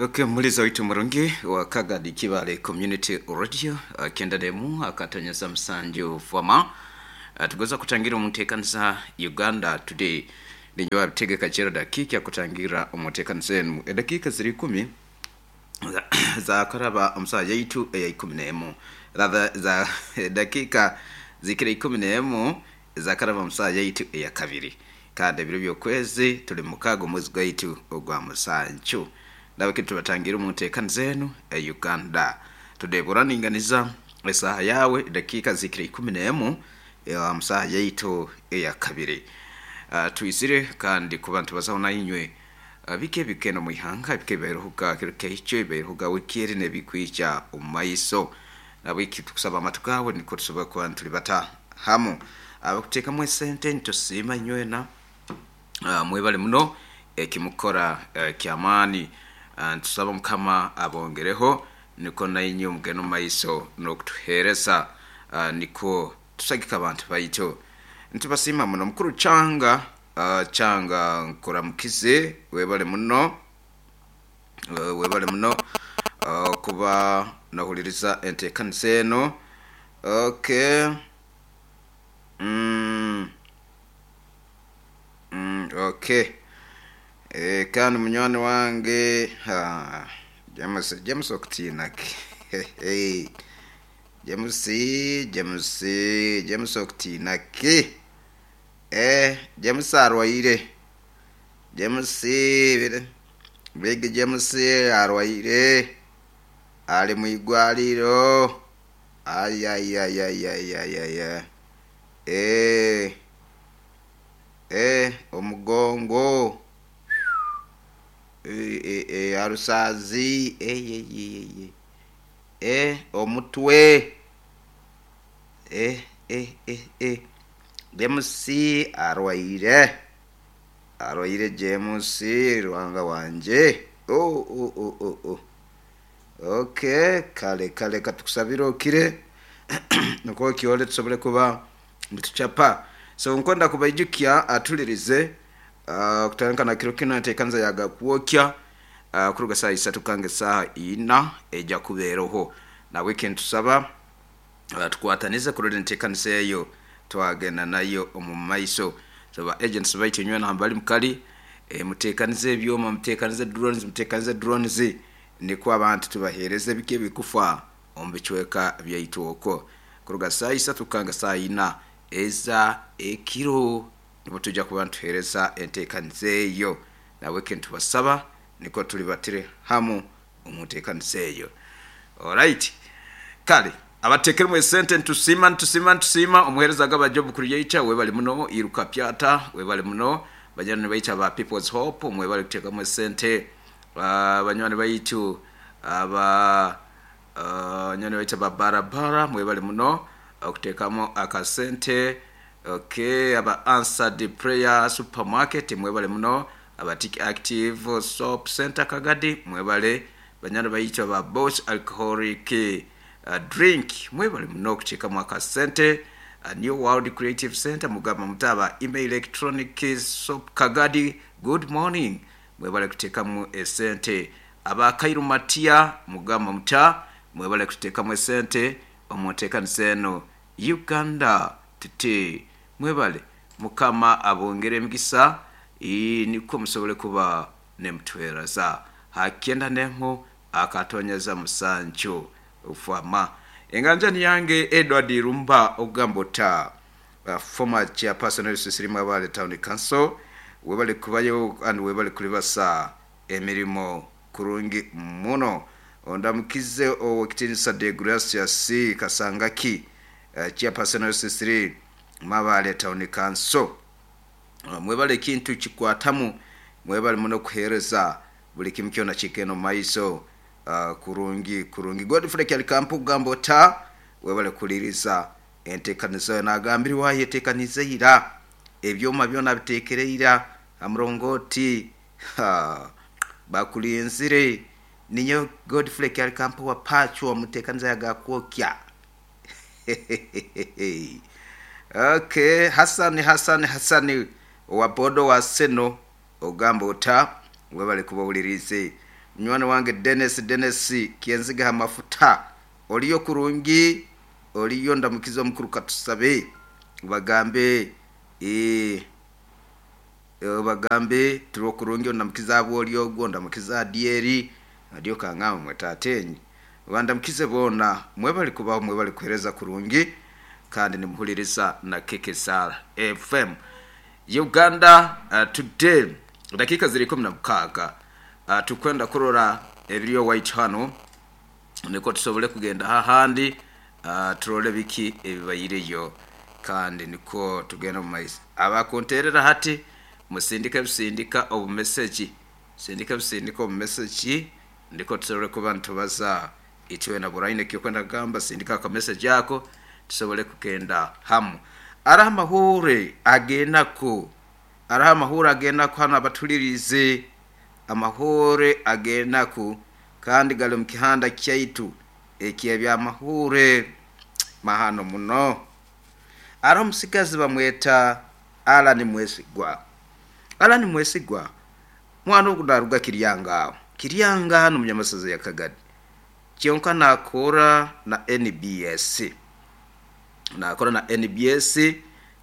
Okay, muliza waitu murungi wa Kagadi Kibale Community Radio, 91 akatonyeza musanju fwama, tugoza kutangira omuteekaniza Uganda Today. Ninyowe abitegeka chero dakika kutangira omuteekaniza enu edakiika ziri 10 zakaraba omusaha yaitu eya 11, rather za dakika zikira 11 zakaraba omusaha yaitu eya kabiri, kandi ebiro by'okwezi tuli 6 omwezi gwaitu ogwa musanju. Nabaki tubatangira omuteekaniza enu e Uganda Today. Buraninganiza esaha yawe dakika zikira 11 musaha yaitu eya kabiri. Twizire kandi kuba ntubazaho nainywe, bike bikeno mwihanga bike biruhuga kiro keikyo biruhuga wiki nebikwija omu maiso. Nabwiki tukusaba amatu gawe niko tusobola kuba ntulibata hamu. Abakuteekamu esente nitusiima inywena, mwebale muno ekimukora, kyamaani. Ntusaba Mukama abongereho niko nainywe mugende omu maiso n'okutuheereza, niko tusagika abantu baitu. Ntubasiima muno. Mukuru Changa, Changa, nkuramukize, webale muno, webale muno kuba nohuliriza enteekaniza eno. Okay. Okay. Kandi munywani wange, ha, James, James okutiinaki? James, James, James okutiinaki? James arwaire. James, Big James arwaire, ali mwigwaliro. Ayayayayayaya, omugongo, arusazi, omutwe. James arwaire, arwaire James Ruhanga wanje. Oh, oh, oh, oh, oh. Okay, kale kale katukusabire okire nukwo kyole tusobole kuba nituchapa. So nkwenda kubaijukya atulirize, kutandika na kiro kino enteekaniza yagakwokya, kuruga saa 3 kange saaha 4 ejja kubeeroho. Nabweki ntusaba, tukwatanize kurora enteekaniza eyo twagenda nayo omu maiso. So ba agents baitu inywena hambali mukali, muteekanize ebyoma, muteekanize drones, muteekanize drones nikwo abantu tubaheereze biki ebikufa omu bicweka byaitu okwo. Kuruga saa 3 kanga saa 4 eza ekiro nibwo tujja kuba nituheereza enteekaniza eyo. Nabweki nitubasaba niko tulibatire hamu omu nteekaniza eyo. Alright, kale abateekeremu esente nitusiima, nitusiima, nitusiima. Omuheereza gaba Job Creator, webale muno. Iruka Pyata, webale muno. Banywani baitu aba People's Hope, mwebale kuteekamu esente. Banywani baitu aba, banywani baitu aba barabara, mwebale muno okuteekamu akasente. Okay, aba Answered Prayer Supermarket, mwebale muno. Aba Tik Active Soap Center Kagadi, mwebale. Banywani baitu aba Boss Alcoholic Drink, mwebale muno okuteekamu akasente. New World Creative Center, mugamba muta? Aba Email Electronic Soap Kagadi, good morning, mwebale kuteekamu esente. Aba Kairu Matia, mugamba muta? Mwebale kuteekamu esente omu nteekaniza eno Uganda Today. Mwebale, Mukama abongere emigisa, nikwo musobole kuba nemutweraza. Ha 91.7 fama. Enganjani yange Edward Rumba ogamba ota, former chairperson w'Ebisisirimu Abale Town Council, webale kubayo and webale kulibasa emirimo kurungi muno. Ondamukize owekitiinisa De Gracias Kasangaki, chairperson w'Ebisisiri Mabale Town Council. Mwebale ekintu kikwatamu, mwebale muno kuheereza buli kimu kyona kigenda omu maiso, kurungi kurungi. Godfrey Kyalikampu kugamba ota, webale kuliriza enteekaniza. Nagambire wayeteekanize ira, ebyoma byona biteekere ira ha murongooti, bakulinzire. Ninyo Godfrey Kyalikampu wa Pachwa omuteekaniza yagakwokya. Okay, Hasani, Hasani, Hasani wa bodo wa Seno, ogamba ota? Webale kuba owulirize. Munywani wange Dennis, Dennis Kyenziga ha mafuta, oliyo kurungi, oliyo ndamukiza omukuru katusabe bagambe bagambe turi kurungi, ondamukiza abo oli ogwo, ndamukiza adieri adiyo kangamba mwe tatenyi bandamukize boona mwebali kubaho, mwebali kuhereza kurungi kandi nimuhuliriza na KKSR FM Uganda. Today dakika ziri 16, tukwenda kurora ebiriyo white hano niko tusobole kugenda hahandi, turole biki ebibaireyo kandi niko tugenda mu maiso. Abakunterera hati musindike busindika obumeseji, sindika busindika obumeseji ndiko tusobole kuba nitubaza itwe na buraine kyokwenda kugamba, sindika akameseji ako tusobole kugenda hamu. Araho amahure agenako, araho amahure agenako hano abatulirize amahure agenako kandi gali mu kihanda kyaitu eky'ebyamahure mahano muno. Araho omusigazi bamweta Alan Mwesigwa. Alan Mwesigwa mwana ogu naruga Kiryanga aho, Kiryanga hano munyamasaza ya Kagadi, kyonka nakora na NBS, nakora na NBS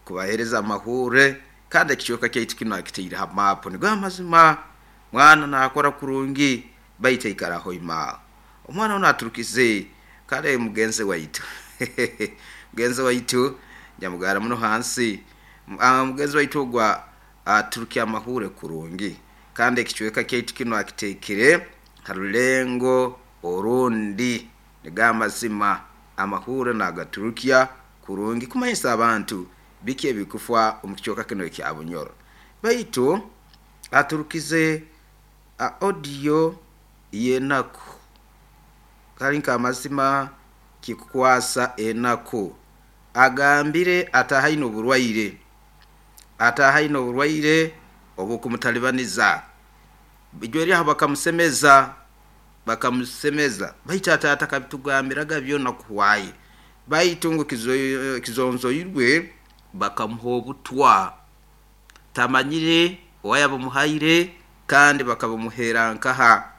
kubahereza amahure kandi ekicweka kyaitu kinu akitaire ha maapu. Nigo amazima mwana nakora kurungi baitu aikaraho ima omwana ono aturukize kale mugenzi waitu mugenzi waitu nyamugara muno hansi, mugenzi waitu ogwa aturukia amahure kurungi kandi ekicweka kyaitu kinu akitekere harulengo orundi. Nigo amazima amahure nagaturukia kurungi kumanyisa abantu biki ebikufa omu kicweka kinu ekya Bunyoro, baitu aturukize audio yenaku kali nka amazima kikukwasa enaku. Agambire atahaine oburwaire, atahaine oburwaire obukumutalibaniza ijweri aho bakamusemeza, bakamusemeza baitu atata kabitugambiraga byona kuhwaye, baitu ngu kizonzoirwe bakamuha obutwa tamanyire owayabumuhaire kandi bakabumuhera nkaha.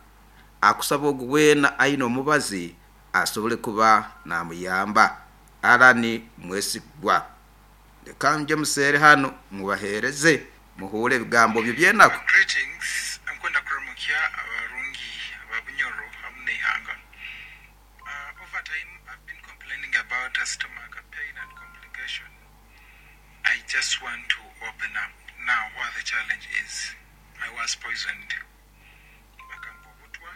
Akusaba ogu weena aine omubazi asobole kuba namuyamba. Alan Mwesigwa, leka nje museere hano mubahereze muhure ebigambo bye byenaku. Greetings, nkwenda kuramukya abarungi aba Bunyoro hamu n'eihanga. Over time I've been complaining about a stomach pain and complication. I just want to open up now what the challenge is. I was poisoned. Bakampa obutwa.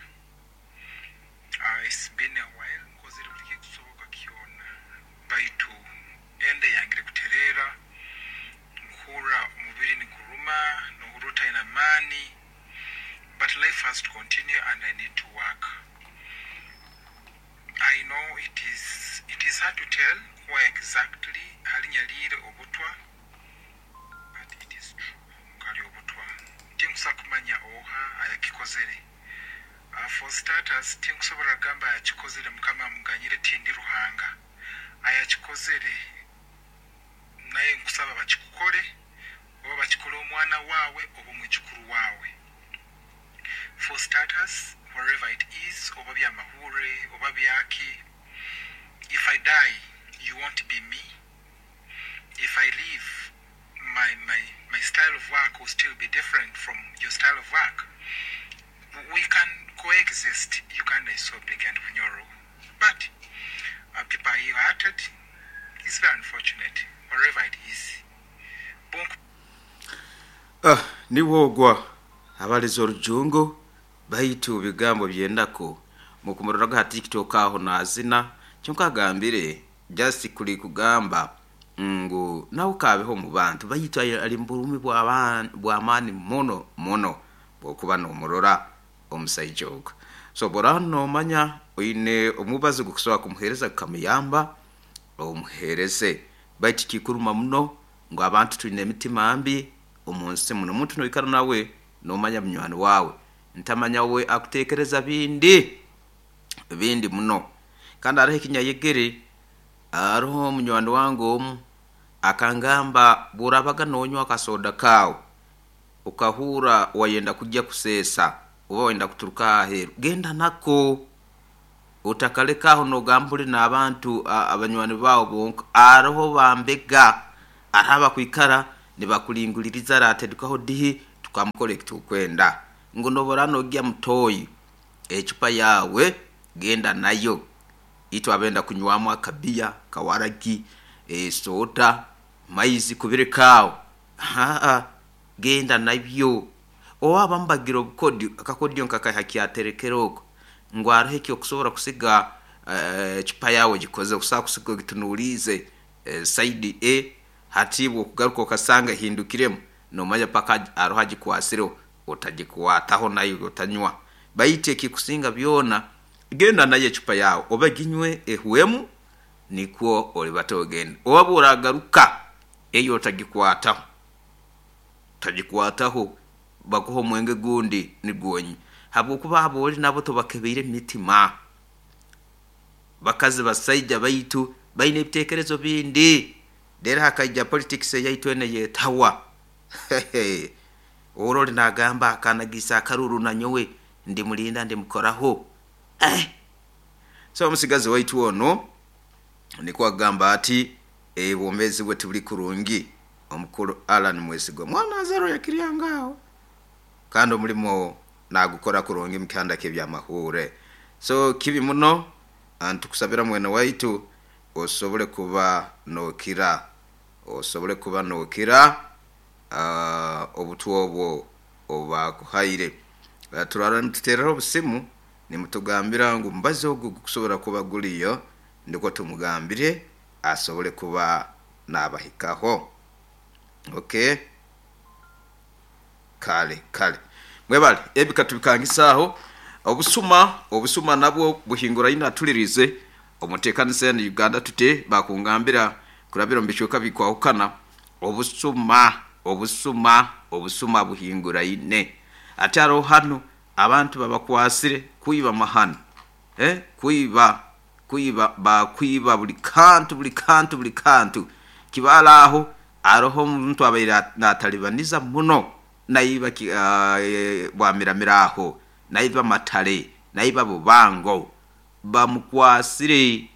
It's been a while, nkozire buli kikusoboka kyona. Baitu ende yangire kuterera, nkuhurra omubiri niguruma, nohurra otaine amaani, but life has to continue and I need to work. I know it is hard to tell where exactly halinyaliire obutwa, but it is true nkali obutwa. Tinkusobola kumanya oha ayakikozere. For starters, tinkusobola kugamba ayakikozere Mukama amuganyire, tindi Ruhanga. Ayakikozere naye nkusaba bakikukole oba bakikole omwana waawe oba omwijukuru waawe. For starters, wherever it is, oba byamahure oba byaki, if I die, you won't be me. If I leave, my style of work will still be different from your style of work. We can coexist. Uganda is so big and Bunyoro. But people are ill-hearted. It's very unfortunate, wherever it is. Bonk. Niwogwa abaliza orujungu baitu bigambo byendako mukumurora ha TikTok aho nazina kyonka agambire just kuli kugamba ngu nawe kabeho mu bantu baitu ali mburumi bw'amaani muno muno bwokuba nomurora omusaija ogwo. So bora nomanya oine omubazi gukusobola kumuhereza gukamuyamba omuhereze, baitu kikuruma muno ngu abantu twine emitima mbi omu nsi muno. Omuntu noikara nawe nomanya munywani wawe ntamanya we akutekereza bindi bindi muno. Kandi hariho ekinyayegere, hariho munywani wange omu akangamba bworabaga nonywa akasoda kawe ukahura wayenda kujya kusesa Oba wenda kuturuka aheeru, genda nako, otakaleka aho nogamba ori n'abantu abanywani baawe bonka. Aroho bambega, aroho abakwikara nibakulinguliriza aratedukaho dihi tukamukora ekitukwenda. Ngu nobora nogya mutoyi, ecupa yawe genda nayo. Itwe abenda kunywamu akabiya, kawaragi, soda, maizi kubireka aho. Genda nabyo. Oba abamu bagira obukodyo, akakodyo nkakaiha kyaterekere oko, ngu aroho ekyokusobora kusiga ecupa yawe ogikoze, okusobora kusiga ogitunuliize side A, hati bwokugaruka okasanga ehindukiremu, nomanya paka aroho agikwasireho, otagikwataho nayo otanywa. Baitu ekikusinga byona, genda nayo ecupa yawe, oba ginywe ehwemu, nikwo olibata ogende. Oba bworagaruka, eyo otagikwataho, otagikwataho, bakuhe omwenge gundi nigwo onywe. Habwokuba abori nabo tobakebeire emitima. Bakazi basaija baitu baine ebitekerezo bindi. Rero hakaija politics eyaitu enu eyetawa. Oroli nagamba akanagisa akaruru nanyowe ndimulinda ndimukoraho. So omusigazi waitu onu nikwo agamba ati obwomeezi bwe tibuli kurungi. Omukuru Allan Mwesigwa mwana azarwa yakiryanga aho, kandi omulimo nagukora kurungi mu kihanda ky'ebyamahure. So kibi muno, ntukusabira mwene waitu osobole kuba nokira, osobole kuba nokira obutwa obwo obubakuhaire. Turara nitutereraho obusimu nimutugambira ngu omubazi ogu gukusobora kuba guriyo, nikwo tumugambire asobole kuba nabahikaho. Okay, kale kale mwebale ebi katubikangisaaho. Obusuma, obusuma nabwo buhinguraine atulirize omutekanisa enu Uganda tute bakungambira kurabira omu bicweka bikwahukana. Obusuma, obusuma, obusuma buhinguraine. Ati aroho hanu abantu babakwasire kwiba mahano, kwiba, kwiba, bakwiba buli kantu, buli kantu, buli kantu. Kibara aho aroho omuntu abaire natalibaniza muno, naiba bwamiramira aho, naiba matale, naiba bubango, bamukwasire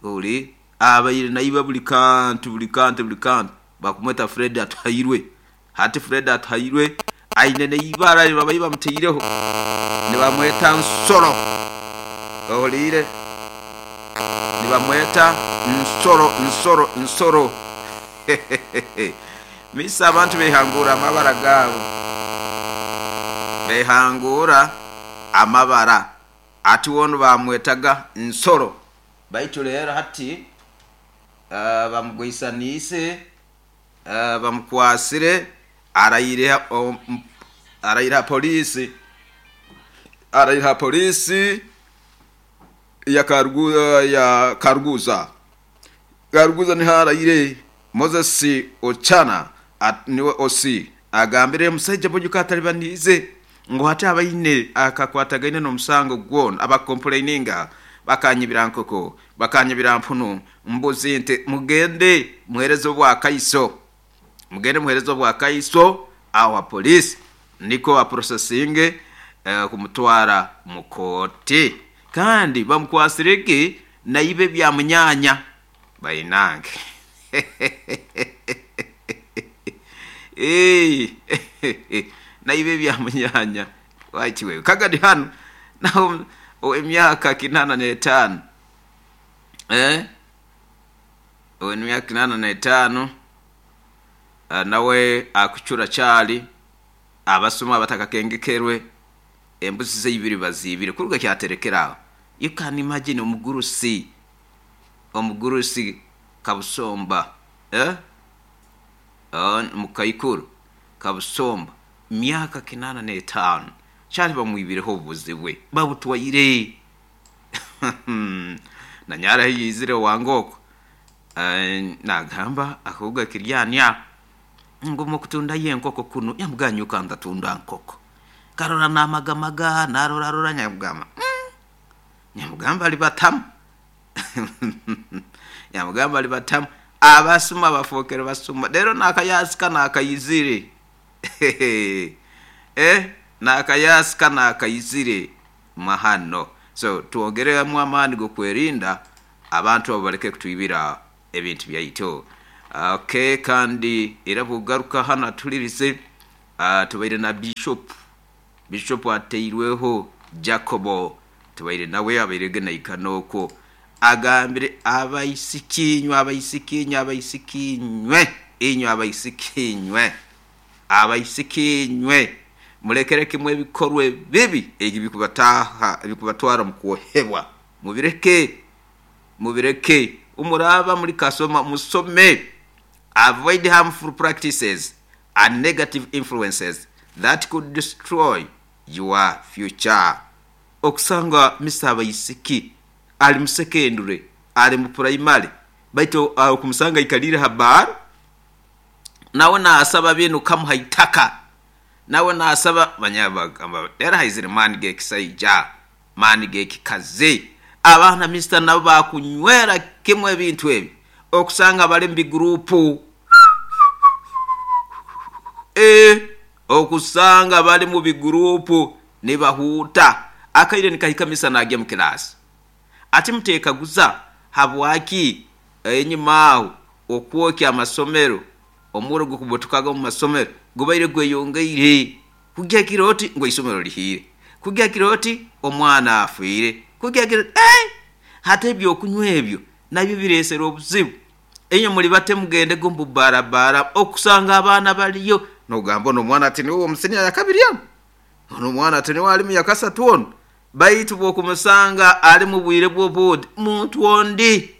ori abaire naiba buli kantu, buli kantu, buli kantu. Bakumweta Fred Atuhairwe. Hati Fred Atuhairwe aine neibara babaire bamuteireho, nibamweta Nsoro. Ohuliire? Nibamweta Nsoro, Nsoro, Nsoro. Misa abantu behangura amabara gaabo, behangura amabara. Ati wonu bamwetaga Nsoro, baitu rero hati bamugwisaniise, bamukwasire, araire araire ha polisi, araire ha polisi ya Karuguza. Karuguza niho araire. Moses Ochana niwe OC agambire omusaija Bojuka atalibaniize ngu hati abaine akakwatagaine n'omusango gwona abakomplaininga bakanyibira nkoko, bakanyibira mpunu, mbuzi, nte, mugende muhereze obwakaiso, mugende muhereze obwakaiso aho ha polisi nikwo baprosesinge kumutwara mu kooti. Kandi bamukwasirege naiba ebya munyanya bainange. Naiba ebya munyanya wakiwewe kagadi hanu naho ow'emyaka 85, ow'emyaka 85 nawe akucura kyali abasuma abatakakengekerwe embuzi ze ibiri baziibire kuruga kyaterekera aho. You can imagine omugurusi, omugurusi Kabusomba, mukaikuru Kabusomba, myaka 85 kyali bamwibireho obubuzi bwe babutwaire. Nanyara yaizire owange okwo nagamba akuga kiryania ngu mukutundayo enkoko kunu, yamugamba nyowe kandatunda nkoko. Karora namagamaga narorarora, nyamugamba nyamugamba alibatamu nyamugamba alibatamu abasuma bafokere basuma. Rero nakayasika nakaizire. Nakayasika nakaizire mahano. So twongeremu amaani g'okwerinda abantu abo baleke kutwibira ebintu byaitu. Okay, kandi era bw'ogaruka hanu atuhulirize, tubaire na Bishop. Bishop ateirweho Jacobo, tubaire nawe abairege naikana okwo. Agambire abaisiki inywe, abaisiki inywe, abaisiki inywe, inywe abaisiki inywe, abaisiki inywe, mulekere kimwe ebikorwa ebibi ebikubataaha, ebikubatwara omu kwohebwa. Mubireke, mubireke. Omuraaba muri kasoma, musome. Avoid harmful practices and negative influences that could destroy your future. Okusanga Mister Abaisiki ali mu secondary, ali mu primary, baitu okumusanga aikaliire ha bar, nawe naasaba binu kamuha itaka, nawe naasaba, manya bagamba era haizire maani g'ekisaija, maani g'ekikazi. Abaana Mister nabo baakunywera kimwe ebintu ebi, okusanga bali mu biguruupu. Ee, okusanga bali mu biguruupu nibahuuta. Akaire nikahika Mister naagya mu kilaasi. Ati muteekaguza habwaki enyima aho okwokya amasomero, omurro ogukubutukaga omu masomero gubaire gweyongeire. Kugya kiro oti ngu eisomero lihiire, kugya kiro oti omwana afiire, kugya kiro oti eeh! Hati eby'okunywa ebyo nabyo bireesere obuzibu. Inywe muli bate mugendege omu bubbara-bbara okusanga abaana baliyo. Nogamba onu omwana ati niwe w'omu siniya yakabiri onu, onu omwana ati niwe ali mu yakasatu onu. Baitu bw'okumusanga ali mu bwire bw'obundi, muntu ondi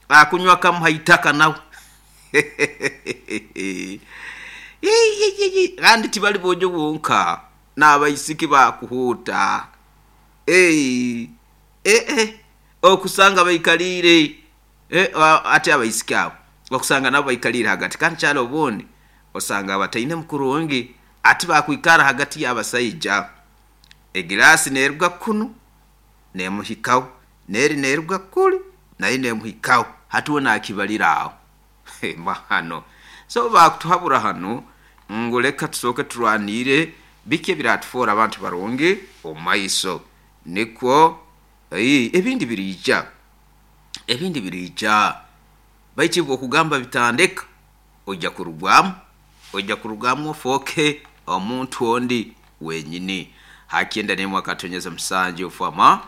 akunywa kamuha itaka nawe. Kandi tibali boojo bonka, n'abaisiki baakuhuuta. Eeh, okusanga baikaliire ati abaisiki abo, okusanga nabo baikaliire hagati. Kandi kyali obundi osanga batainemu kurungi, ati baakwikara hagati y'abasaija. Egiraasi neeruga kunu neemuhikaho, n'eri neeruga kuli nayo neemuhikaho. Hati we naakibalira aho. Mahano! So baakutuhabura hanu ngu leka tusooke turwaniire biki ebiraatufoora abantu barungi omu maiso. Nikwo ebindi biriija, ebindi biriija. Baitu iwe okugamba bitandika, oija kurugwamu, oija kurugamu ofooke omuntu ondi wenyini. Ha kyenda n'emwe akatonyeza musanju fama,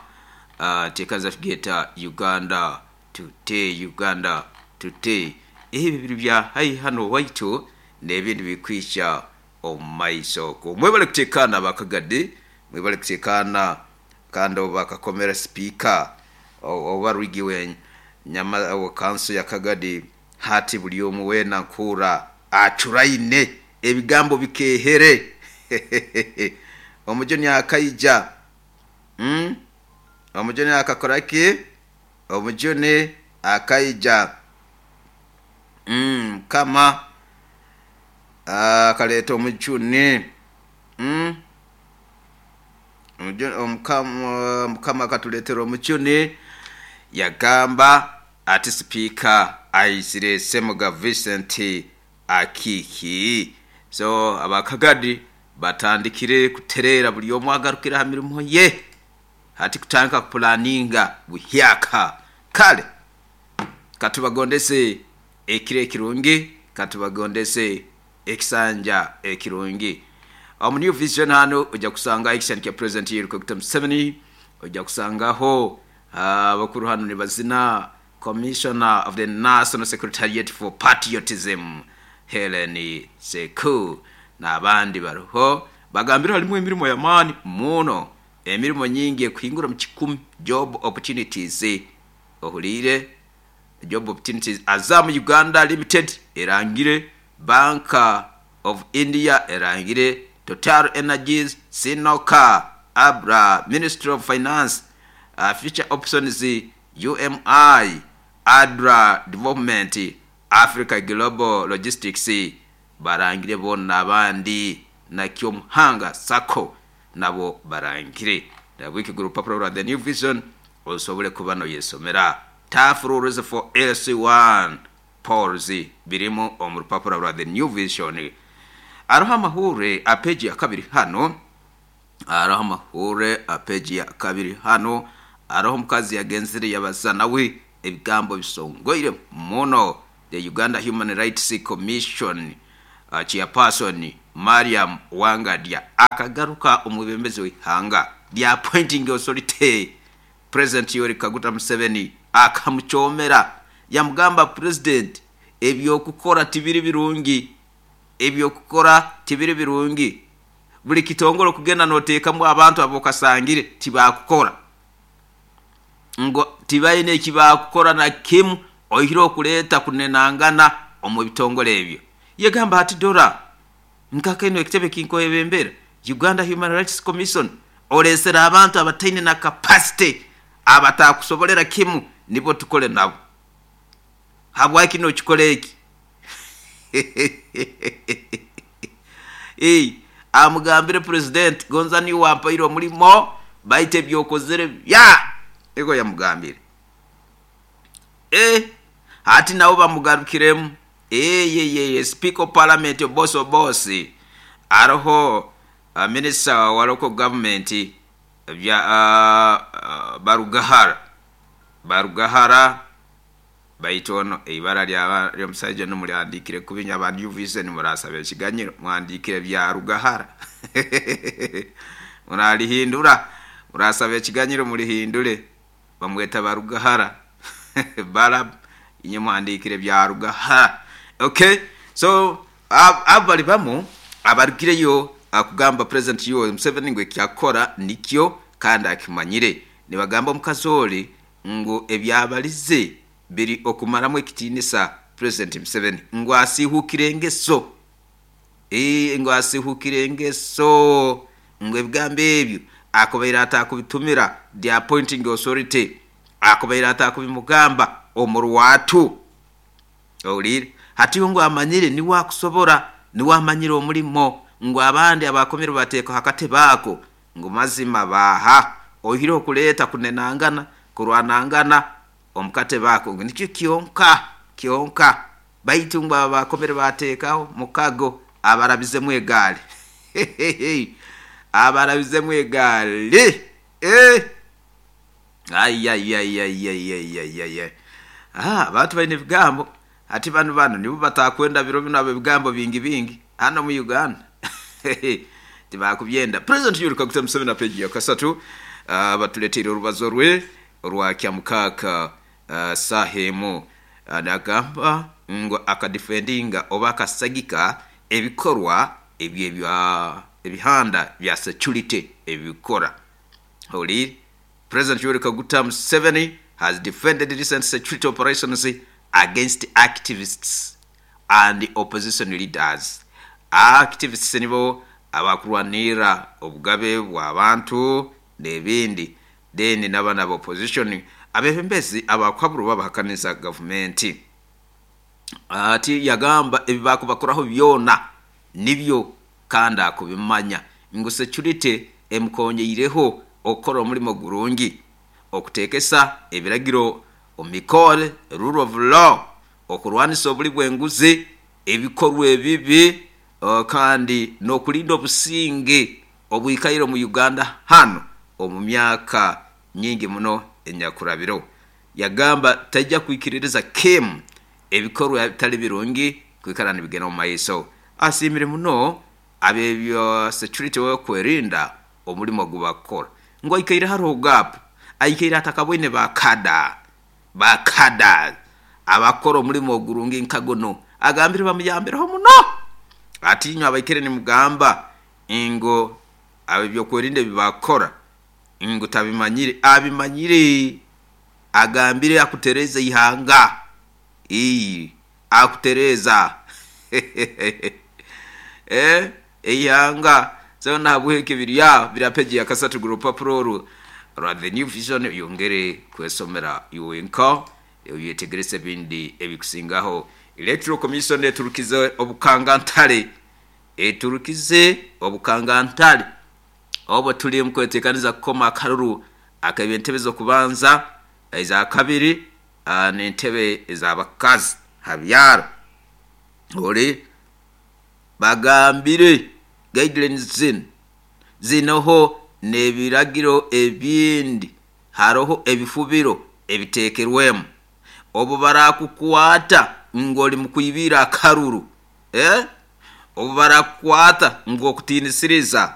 teekaza tugyeta Uganda Today, Uganda Today. Ebi biri bya haihi hanu owaitu n'ebindi birikwija omu maiso okwo. Mwebale kuteekaana aba Kagadi, mwebale kuteekaana kandi obu bakakomera sipiika oba rwigi we nyama wa kanso ya Kagadi hati buri omwe weena nkuhurra acuraine ebigambo bikeehere. Omujuni akaija, Omujuni akakora ki? Omujuni akaija. Mukama akaleeta omujuni. Mukama akatuleetera omujuni, yagamba ati Sipiika aizire Ssemuga Vincent Akiiki. So aba Kagadi batandikire kutereera buri omwe agarukire aha mirimo ye. Hati kutandika kupulaninga buhyaka. Kale katubagondese ekiro ekirungi, katubagondese ekisanja ekirungi. Omu New Vision hanu oija kusangaho ekishushani kya President Yoweri Kaguta Museveni, oija kusangaho abakuru hanu nibazina Commissioner of the National Secretariat for Patriotism Hellen Seku n'abandi bariho. Bagambire harimu emirimo y'amaani muno, emirimo nyingi ekuhingura omu kikumi, job opportunities. Ohuriire? Job opportunities. Azam Uganda Limited erangire, Bank of India erangire, Total Energies, Sinoka, Abra, Ministry of Finance, Future Options, UMI, Adra Development, Africa Global Logistics barangire boona n'abandi na Kyomuhanga Sacco nabo barangire. Nahabweki gura orupapura rwa The New Vision osobole kuba noyesomera. Tough Rules for LC1 Polls birimu omu rupapura rwa The New Vision. Haroho amahurre a peegi ya kabiri hanu. Hariho amahurre apeji ya kabiri hano hariho omukazi yagenzire yabaza nawe ebigambo bisongoire muno. The Uganda Human Rights Commission chairperson Mariam Wangadya akagaruka omwebembezi w'eihanga lya appointing authority President Yoweri Kaguta Museveni akamukyomera yamugamba, President, ebyokukora tibiri birungi, ebyokukora tibiri birungi, buli kitongole okugenda noteekamu abantu abokasangire tibakukora, ngu tibaine ekibakukora na kimu oihire okuleeta kunenangana omu bitongole ebyo. Yegamba ati, dora nkakeno ekitebe kinkwebembera Uganda Human Rights Commission olesere abantu abataine na capacity abatakusobolera kimu nibo tukole nabo, habwaki nokikora eki? Amugambire President, gonza niwe wampaire omulimo baitu ebyokozere bya ego yamugambire. Hati nabo bamugarukiremu. Speaker of Parliament Obosi Obosi aroho Minister wa local government bya Barugahara, Barugahara baitu ono eibara ly'omusaija ono mulihandiikire kubi nyo aba New Vision murasaba ekiganyiro muhandiikire bya Rugahara muralihindura, murasaba ekiganyiro mulihindure, bamweta Barugahara Barab, inye muhandiikire bya Rugahara. Okay, so abo bali bamu abarugireyo kugamba President Yoweri Museveni ngu ekyakukora nikyo kandi akimanyire. Nibagamba omukazi ori ngu ebyabalize biri okumaramu ekitiinisa President Museveni ngu asihukire engeso. Ngu asihukire engeso, ngu ebigambo ebyo akubaire atakubitumira the appointing authority, akubaire atakubimugamba omu rwatu. Owulire? Hati ngu amanyire niwe akusobora, niwe amanyire omulimo, ngu abandi abakomire bateekaho akatebe ako ngu mazima baaha oihireho kuleeta kunenangana, kurwanangana omu katebe ako ngu nikyo kyonka kyonka, baitu ngu abo abakomire bateekaho mukago abarabizemu egaali. Abarabizemu egaali. Ayayayayayayayaya. Abantu baine ebigambo. Hati banu nibo batakwenda biro binu abebigambo bingi bingi hano mu Uganda. Tibakubyenda. President Yoweri Kaguta Museveni apeji ya kasatu batuleteire orubazo rwe orwa kyamukaka saha emu. Nagamba ngu akadifendinga oba akasagika ebikorwa ebyo ebihanda bya security ebikora. Owulire? President Yoweri Kaguta Museveni has defended recent security operations against activists and opposition leaders. Activists nibo abakurwanirra obugabe bw'abantu n'ebindi, then n'abana aba opposition abebembezi abakuhabura oba abahakaniza gavumenti. Ati yagamba ebi bakubakoraho byona nibyo kandi akubimanya ngu security emukonyeireho okukora omulimo gurungi, okuteekesa ebiragiro omu mikore, rule of law, okurwanisa obuli bw'enguzi, ebikorwa ebibi kandi n'okulinda obusinge obwikaire omu Uganda hanu omu myaka nyingi muno enyakurabiro. Yagamba taija kwikiririza kimu ebikorwa ebitali birungi kwikara nibigenda omu maiso. Asiimire muno ab'ebya security okwerinda omulimo ogu bakukora ngu aikaire haroho gap, aikaire atakaboine bakada, bakada abakukora omulimo ogurungi nka gunu. Agambire bamuyambireho muno. Ati inywe abaikaire nimugamba ngu ab'ebyokwerinda ebi bakukora ngu tabimanyire, abimanyire. Agambire akutereza eihanga. Akutereza eihanga. So nahabwekyo biri aho biri apeji ya kasatu gura orupapura oru rwa The New Vision oyongere kwesomera iwe wenka oyetegereze ebindi ebikusingaho. Electoral Commission eturukize obukangantare, eturukize obukangantare obu turi omu kwetekaniza kukoma akaruru ak'ebentebe z'okubanza, eza kabiri n'entebe ez'abakazi ha byaro. Ori bagambire guidelines zinu. Zinoho n'ebiragiro ebindi, haroho ebifubiro ebiteekerwemu. Obu barakukwata ngu oli mukwibira akaruru, Obu barakukwata ngu okutiinisiriza.